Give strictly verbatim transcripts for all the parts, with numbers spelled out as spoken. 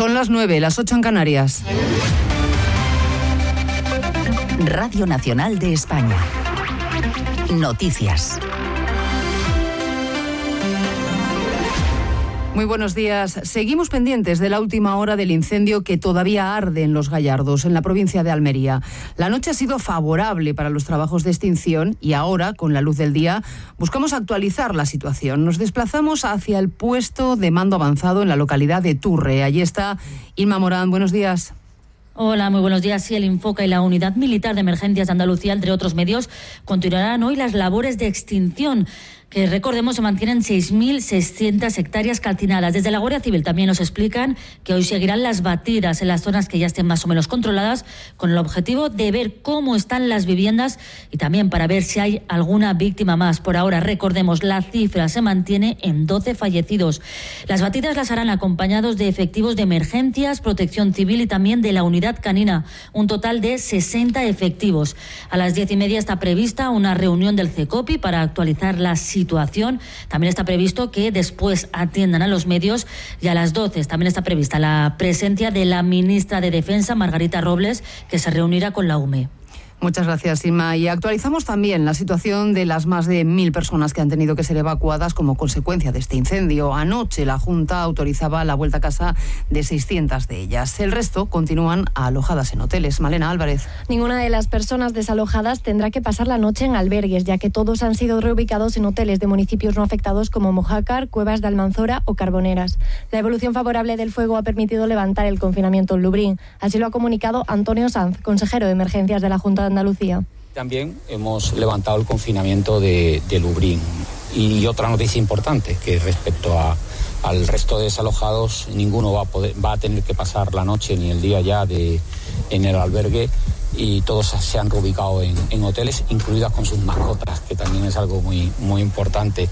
Son las nueve, las ocho en Canarias. Radio Nacional de España. Noticias. Muy buenos días. Seguimos pendientes de la última hora del incendio que todavía arde en Los Gallardos, en la provincia de Almería. La noche ha sido favorable para los trabajos de extinción y ahora, con la luz del día, buscamos actualizar la situación. Nos desplazamos hacia el puesto de mando avanzado en la localidad de Turre. Allí está Inma Morán. Buenos días. Hola, muy buenos días. Sí, el Infoca y la Unidad Militar de Emergencias de Andalucía, entre otros medios, continuarán hoy las labores de extinción, que recordemos se mantienen seis mil seiscientas hectáreas calcinadas. Desde la Guardia Civil también nos explican que hoy seguirán las batidas en las zonas que ya estén más o menos controladas, con el objetivo de ver cómo están las viviendas y también para ver si hay alguna víctima más. Por ahora, recordemos, la cifra se mantiene en doce fallecidos. Las batidas las harán acompañados de efectivos de emergencias, protección civil y también de la unidad canina, un total de sesenta efectivos. A las diez y media está prevista una reunión del CECOPI para actualizar la situación. situación. También está previsto que después atiendan a los medios y a las doce también está prevista la presencia de la ministra de Defensa, Margarita Robles, que se reunirá con la U M E. Muchas gracias, Inma. Y actualizamos también la situación de las más de mil personas que han tenido que ser evacuadas como consecuencia de este incendio. Anoche la Junta autorizaba la vuelta a casa de seiscientas de ellas. El resto continúan alojadas en hoteles. Malena Álvarez. Ninguna de las personas desalojadas tendrá que pasar la noche en albergues, ya que todos han sido reubicados en hoteles de municipios no afectados como Mojácar, Cuevas de Almanzora o Carboneras. La evolución favorable del fuego ha permitido levantar el confinamiento en Lumbrín. Así lo ha comunicado Antonio Sanz, consejero de Emergencias de la Junta de Andalucía. También hemos levantado el confinamiento de, de Lumbrín. Y otra noticia importante, que respecto a, al resto de desalojados, ninguno va a, poder, va a tener que pasar la noche ni el día ya de, en el albergue, y todos se han reubicado en, en hoteles, incluidas con sus mascotas, que también es algo muy, muy importante.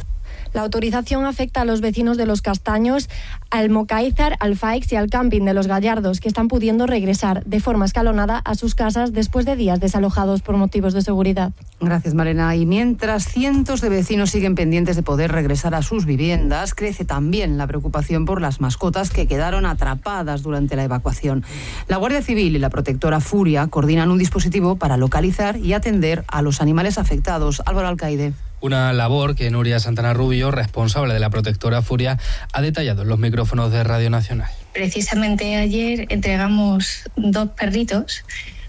La autorización afecta a los vecinos de Los Castaños, al Mocáizar, al Faix y al camping de Los Gallardos, que están pudiendo regresar de forma escalonada a sus casas después de días desalojados por motivos de seguridad. Gracias, Malena. Y mientras cientos de vecinos siguen pendientes de poder regresar a sus viviendas, crece también la preocupación por las mascotas que quedaron atrapadas durante la evacuación. La Guardia Civil y la protectora Furia coordinan un dispositivo para localizar y atender a los animales afectados. Álvaro Alcaide. Una labor que Nuria Santana Rubio, responsable de la protectora Furia, ha detallado en los micrófonos de Radio Nacional. Precisamente ayer entregamos dos perritos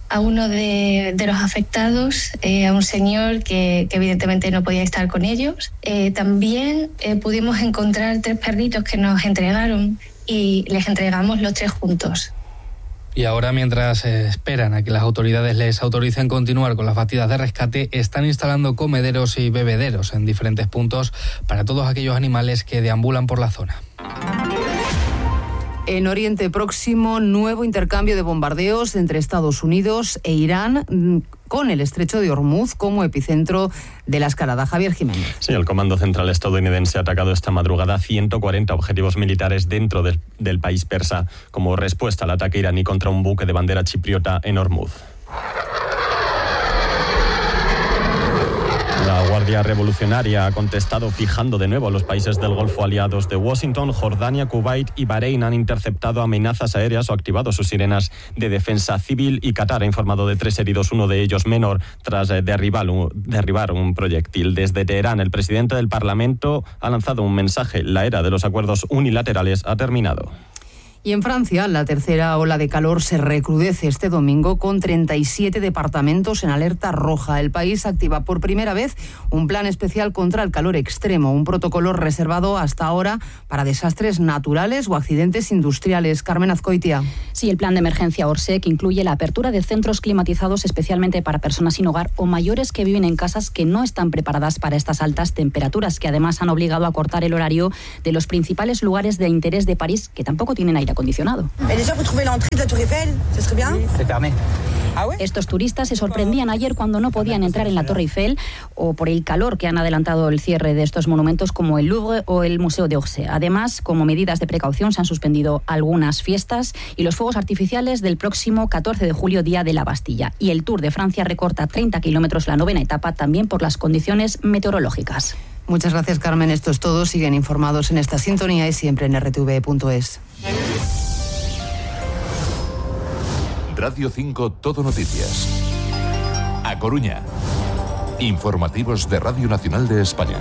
a uno de, de los afectados, eh, a un señor que, que evidentemente no podía estar con ellos. Eh, también eh, pudimos encontrar tres perritos que nos entregaron y les entregamos los tres juntos. Y ahora, mientras esperan a que las autoridades les autoricen continuar con las batidas de rescate, están instalando comederos y bebederos en diferentes puntos para todos aquellos animales que deambulan por la zona. En Oriente Próximo, nuevo intercambio de bombardeos entre Estados Unidos e Irán, con el estrecho de Hormuz como epicentro de la escalada. Javier Jiménez. Sí, el Comando Central estadounidense ha atacado esta madrugada ciento cuarenta objetivos militares dentro del, del país persa como respuesta al ataque iraní contra un buque de bandera chipriota en Hormuz. La Guardia Revolucionaria ha contestado fijando de nuevo a los países del Golfo aliados de Washington. Jordania, Kuwait y Bahrein han interceptado amenazas aéreas o activado sus sirenas de defensa civil, y Qatar ha informado de tres heridos, uno de ellos menor, tras derribar un, derribar un proyectil. Desde Teherán, el presidente del Parlamento ha lanzado un mensaje: la era de los acuerdos unilaterales ha terminado. Y en Francia, la tercera ola de calor se recrudece este domingo con treinta y siete departamentos en alerta roja. El país activa por primera vez un plan especial contra el calor extremo, un protocolo reservado hasta ahora para desastres naturales o accidentes industriales. Carmen Azcoitia. Sí, el plan de emergencia Orsec incluye la apertura de centros climatizados especialmente para personas sin hogar o mayores que viven en casas que no están preparadas para estas altas temperaturas, que además han obligado a cortar el horario de los principales lugares de interés de París, que tampoco tienen aire acondicionado. Estos turistas se sorprendían ayer cuando no podían entrar en la Torre Eiffel o por el calor que han adelantado el cierre de estos monumentos como el Louvre o el Museo d'Orsay. Además, como medidas de precaución, se han suspendido algunas fiestas y los fuegos artificiales del próximo catorce de julio, Día de la Bastilla. Y el Tour de Francia recorta treinta kilómetros la novena etapa, también por las condiciones meteorológicas. Muchas gracias, Carmen. Esto es todo. Siguen informados en esta sintonía y siempre en erre te ve punto es. Radio cinco Todo Noticias. A Coruña. Informativos de Radio Nacional de España.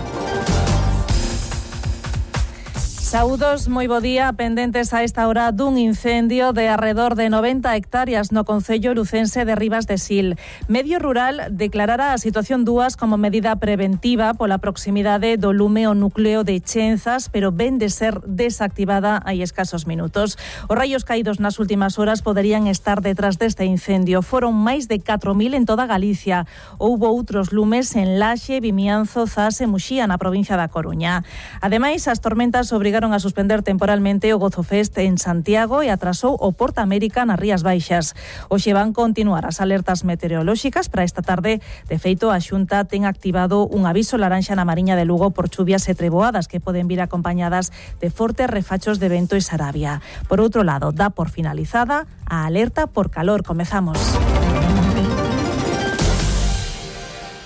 Saúdos, moi bo día, pendentes a esta hora dun incendio de arredor de noventa hectáreas no concello lucense de Ribas de Sil. Medio Rural declarara a situación dúas como medida preventiva pola proximidade do lume ao núcleo de Chenzas, pero ven de ser desactivada hai escasos minutos. Os raios caídos nas últimas horas poderían estar detrás deste incendio. Foron máis de catro mil en toda Galicia. Houbo outros lumes en Laxe, Vimianzo, Zas e Muxía na provincia da Coruña. Ademais, as tormentas obrigaron a suspender temporalmente o Gozo Fest en Santiago e atrasou o Porta América nas Rías Baixas. Hoxe van continuar as alertas meteorolóxicas para esta tarde. De feito, a Xunta ten activado un aviso laranxa na Mariña de Lugo por chuvias e treboadas que poden vir acompañadas de fortes refachos de vento e sarabia. Por outro lado, dá por finalizada a alerta por calor. Comezamos.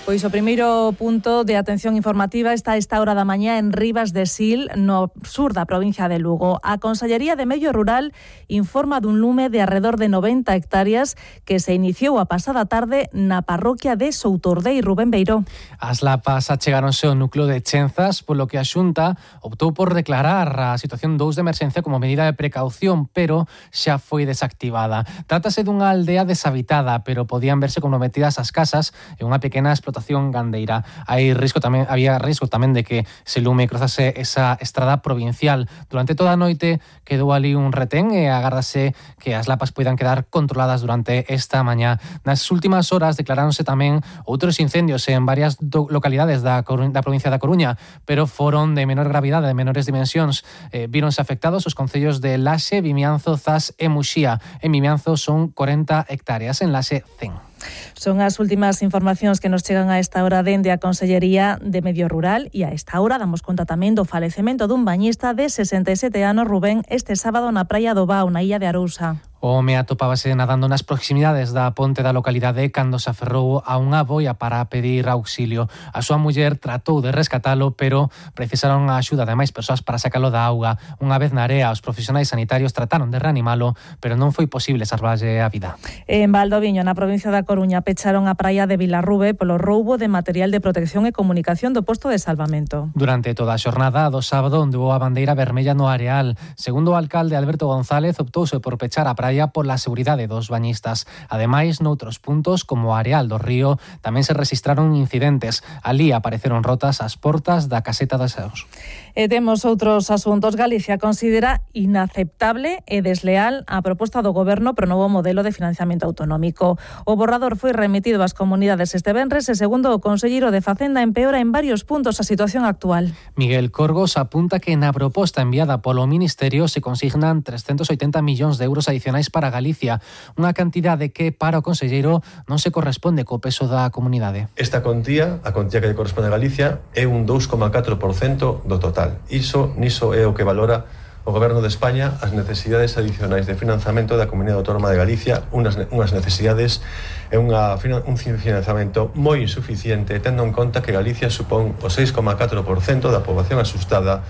Pois o primeiro punto de atención informativa está a esta hora da mañá en Ribas de Sil, no sur da provincia de Lugo. A Consellería de Medio Rural informa dun lume de arredor de noventa hectáreas que se iniciou a pasada tarde na parroquia de Soutordei. Rubén Beiró. As lapas achegáronse ao núcleo de Chenzas, polo que a Xunta optou por declarar a situación dous de emerxencia como medida de precaución, pero xa foi desactivada. Trátase dunha aldea deshabitada, pero podían verse comprometidas as casas e unha pequena explotación gandeira. Hai risco tamén, había risco tamén de que se lume cruzase esa estrada provincial. Durante toda a noite quedou ali un retén e agárdase que as lapas poidan quedar controladas durante esta mañá. Nas últimas horas declaráronse tamén outros incendios en varias localidades da, da provincia da Coruña, pero foron de menor gravidade, de menores dimensións. Eh, víronse afectados os concellos de Laxe, Vimianzo, Zas e Muxía. En Vimianzo son corenta hectáreas, en Laxe cen. Son as últimas informacións que nos chegan a esta hora dende a Consellería de Medio Rural e a esta hora damos conta tamén do falecemento dun bañista de sesenta e sete anos, Rubén, este sábado na praia do Bao, na illa de Arousa. O home atopábase nadando nas proximidades da ponte da localidade cando se aferrou a unha boia para pedir auxilio. A súa muller tratou de rescatalo, pero precisaron a axuda de máis persoas para sacalo da auga. Unha vez na area, os profesionais sanitarios trataron de reanimalo, pero non foi posible salvarlle a vida. En Valdoviño, na provincia da Coruña, pecharon a praia de Vilarrube polo roubo de material de protección e comunicación do posto de salvamento. Durante toda a xornada do sábado ondeou a bandeira vermella no areal. Segundo o alcalde Alberto González, optouse por pechar a praia pola seguridade dos bañistas. Ademais, noutros puntos, como o areal do río, tamén se rexistraron incidentes. Alí apareceron rotas as portas da caseta dos Seus. E temos outros asuntos. Galicia considera inaceptable e desleal a proposta do Goberno pro novo modelo de financiamento autonómico. O borrador foi remitido ás comunidades este venres e, segundo o conselleiro de Facenda, empeora en varios puntos a situación actual. Miguel Corgos apunta que na proposta enviada polo Ministerio se consignan trescentos oitenta millóns de euros adicionais para Galicia, unha cantidade que para o conselleiro non se corresponde co peso da comunidade. Esta contía, a contía que corresponde a Galicia, é un dous coma catro por cento do total. Iso, niso é o que valora o Goberno de España as necesidades adicionais de financiamento da Comunidade Autónoma de Galicia, unhas, unhas necesidades e unha, un financiamento moi insuficiente, tendo en conta que Galicia supón o seis coma catro por cento da poboación asustada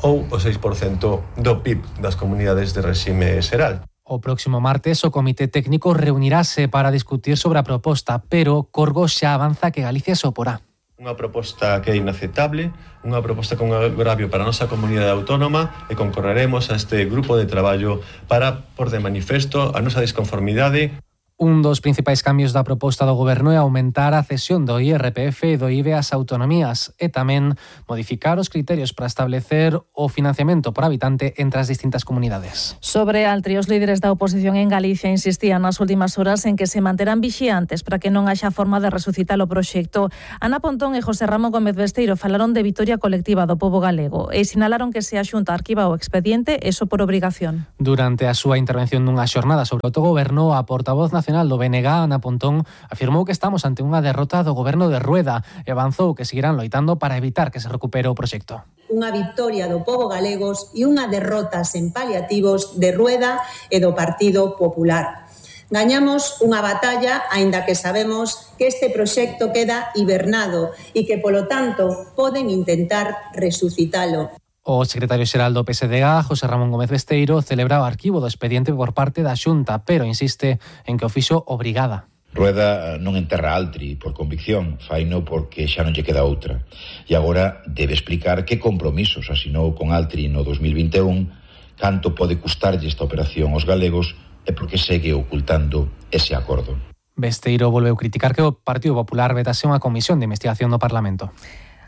ou o seis por cento do P I B das comunidades de réxime xeral. O próximo martes o Comité Técnico reunirase para discutir sobre a proposta, pero Corgos xa avanza que Galicia se oporá. Unha proposta que é inaceptable, unha proposta con agravio para a nosa comunidade autónoma e concorreremos a este grupo de traballo para pôr de manifesto a nosa desconformidade. Un dos principais cambios da proposta do Goberno é aumentar a cesión do I R P F e do I V A ás autonomías e tamén modificar os criterios para establecer o financiamento por habitante entre as distintas comunidades. Sobre Altri, os líderes da oposición en Galicia insistían nas últimas horas en que se manterán vixiantes para que non haxa forma de resucitar o proxecto. Ana Pontón e José Ramón Gómez Besteiro falaron de vitoria colectiva do pobo galego e sinalaron que se a Xunta arquiva o expediente, eso por obrigación. Durante a súa intervención nunha xornada sobre o autogoberno, a portavoz nacional do B N G, Ana Pontón, afirmou que estamos ante unha derrota do goberno de Rueda e avanzou que seguirán loitando para evitar que se recupere o proxecto. Unha victoria do pobo galegos e unha derrota sen paliativos de Rueda e do Partido Popular. Gañamos unha batalla, aínda que sabemos que este proxecto queda hibernado e que, polo tanto, poden intentar resucitalo. O secretario xeral do P S D G, José Ramón Gómez Besteiro, celebra o arquivo do expediente por parte da Xunta, pero insiste en que o fixo obrigada. Rueda non enterra Altri por convicción, faino porque xa non lle queda outra. E agora debe explicar que compromisos asinou con Altri no dos mil vinte e un, canto pode custarlle esta operación aos galegos e porque segue ocultando ese acordo. Besteiro volveu criticar que o Partido Popular vetase unha comisión de investigación do Parlamento.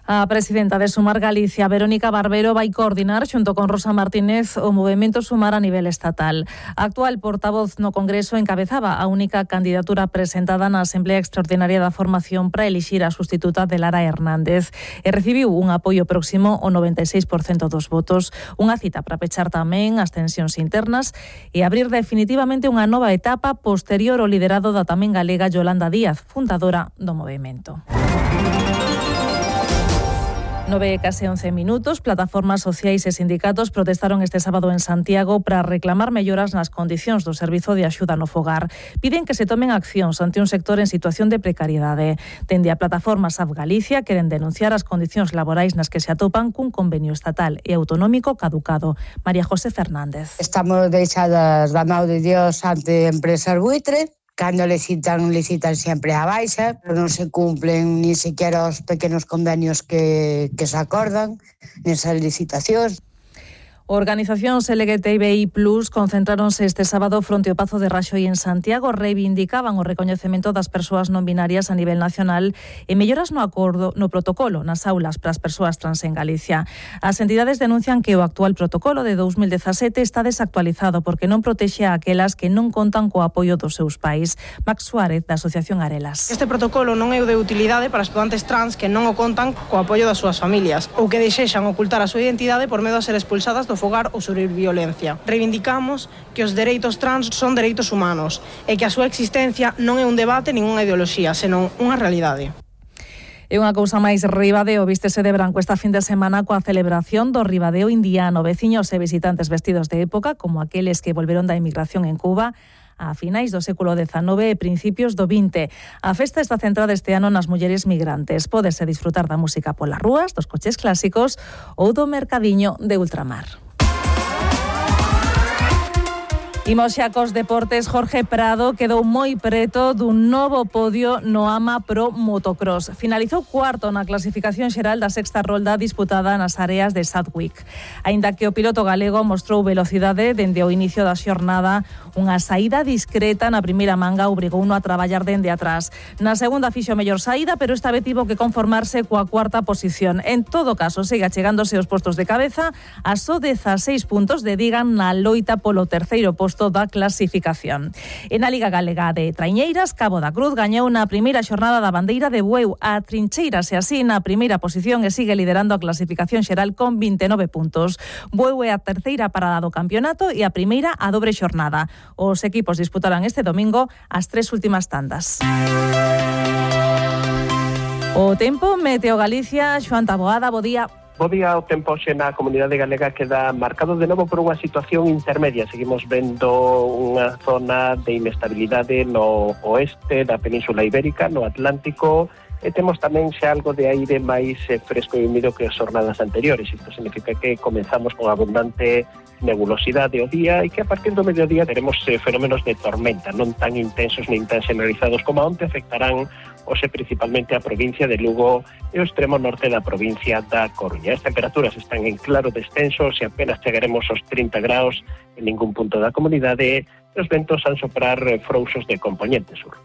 A presidenta de Sumar Galicia, Verónica Barbero, vai coordinar xunto con Rosa Martínez o movemento Sumar a nivel estatal. A actual portavoz no Congreso encabezaba a única candidatura presentada na Asamblea Extraordinaria da Formación para elixir a sustituta de Lara Hernández e recibiu un apoio próximo ao noventa e seis por cento dos votos, unha cita para pechar tamén as tensións internas e abrir definitivamente unha nova etapa posterior ao liderado da tamén galega Yolanda Díaz, fundadora do movemento. Nove case once minutos, plataformas sociais e sindicatos protestaron este sábado en Santiago para reclamar melloras nas condicións do servizo de axuda no fogar. Piden que se tomen accións ante un sector en situación de precariedade. Dende a plataforma S A F Galicia queren denunciar as condicións laborais nas que se atopan cun convenio estatal e autonómico caducado. María José Fernández. Estamos deixadas da mão de Dios ante empresas buitre. Cando licitan, licitan sempre a baixa, non se cumplen ni sequera os pequenos convenios que, que se acordan nesas licitacións. Organizacións L G T B I plus, concentráronse este sábado fronte ao Pazo de Raxoi en Santiago, reivindicaban o recoñecemento das persoas non binarias a nivel nacional e melloras no acordo no protocolo nas aulas para as persoas trans en Galicia. As entidades denuncian que o actual protocolo de dos mil dezasete está desactualizado porque non protexe a aquelas que non contan co apoio dos seus pais. Max Suárez, da Asociación Arelas. Este protocolo non é o de utilidade para estudantes trans que non o contan co apoio das súas familias ou que desexan ocultar a súa identidade por medo a ser expulsadas do fogar ou sufrir violencia. Reivindicamos que os dereitos trans son dereitos humanos e que a súa existencia non é un debate nin unha ideoloxía, senón unha realidade. E unha cousa máis, Ribadeo vístese de branco esta fin de semana coa celebración do Ribadeo indiano. Veciños e visitantes vestidos de época, como aqueles que volveron da emigración en Cuba a finais do século dezanove e principios do vinte. A festa está centrada este ano nas mulleres migrantes. Pódese disfrutar da música polas rúas, dos coches clásicos ou do mercadiño de ultramar. Imos xa cos deportes. Jorge Prado quedou moi preto dun novo podio no AMA Pro Motocross. Finalizou cuarto na clasificación xeral da sexta rolda disputada nas áreas de Sadwick. Aínda que o piloto galego mostrou velocidade dende o inicio da xornada, unha saída discreta na primeira manga obrigouno a traballar dende atrás. Na segunda fixo mellor saída, pero esta vez tivo que conformarse coa cuarta posición. En todo caso, siga chegándose aos postos de cabeza a só dezaseis puntos de digan na loita polo terceiro posto da clasificación. En a Liga Galega de Traiñeiras, Cabo da Cruz gañou na primeira xornada da bandeira de Bueu. A Trincheiras e así na primeira posición e sigue liderando a clasificación xeral con vinte e nove puntos. Bueu é a terceira parada do campeonato e a primeira a dobre xornada. Os equipos disputarán este domingo as tres últimas tandas. O tempo, Meteo Galicia, Xoán Taboada, bo día. Bo día, o tempo xe na comunidade galega queda marcado de novo por unha situación intermedia. Seguimos vendo unha zona de inestabilidade no oeste da Península Ibérica, no Atlántico, e temos tamén xa algo de aire máis fresco e húmido que as jornadas anteriores. Isto significa que comenzamos con abundante nebulosidade o día e que a partir do mediodía teremos eh, fenómenos de tormenta, non tan intensos nin tan generalizados como onte, afectarán hoxe principalmente a provincia de Lugo e o extremo norte da provincia da Coruña. As temperaturas están en claro descenso, se apenas chegaremos aos trinta graus en ningún punto da comunidade, e os ventos han soprar frouxos de componente sur.